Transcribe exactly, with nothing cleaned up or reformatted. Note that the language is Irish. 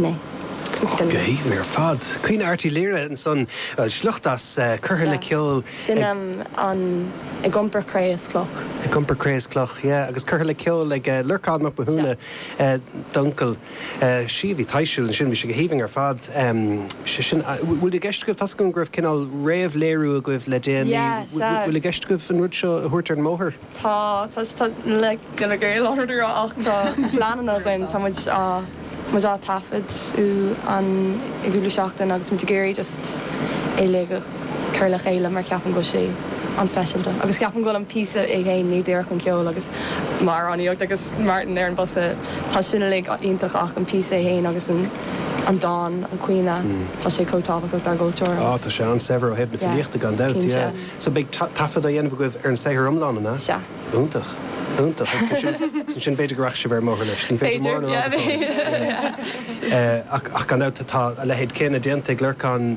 B'in é. Go haoibhinn ar fad. Caoineadh Airt Uí Laoire ansan sliocht as curtha le ceol. Sin an ag iompar cré is cloch. Ag iompar cré is cloch, yeah, agus curtha le ceol ag Lorcán Mac Mathúna d'uncail. Sí bhí taisiú sin bhí sé go haoibhinn ar fad sin bhfuil i gceist agaibh tá go raibh cineál réamhléiriú agaibh le déanaí bhfuil i gceist agaibh an rud seo a thabhairt ar an mbóthar? Tá tá le gona gaol ach tá pleananna againn tá muid á muid á taifead an i gcúpla seachtain agus muid ag iarraidh just é le cur le chéile mar ceapaim go sé an-speisialta. Agus ceapaim go bhfuil an píosa é féin ní díreach an ceol agus mar aníocht agus Martin ar an bosca tá sin le iontach ach an píosa é féin agus an an dán an caoineadh tá sé chomh tábhachtach dár gcultúr. Á tá sé an-saibhir ó thaobh na filíochta gan dabht. So beidh taifead á dhéanamh agaibh ar an saothar iomlán an ea? Sea. Iontach. Iontach sin sin b'fhéidir go rachaidh sibh ar an mbóthar leis. Ní féidir mór ach gan dabht tá a leithéid céanna déanta ag Lorcán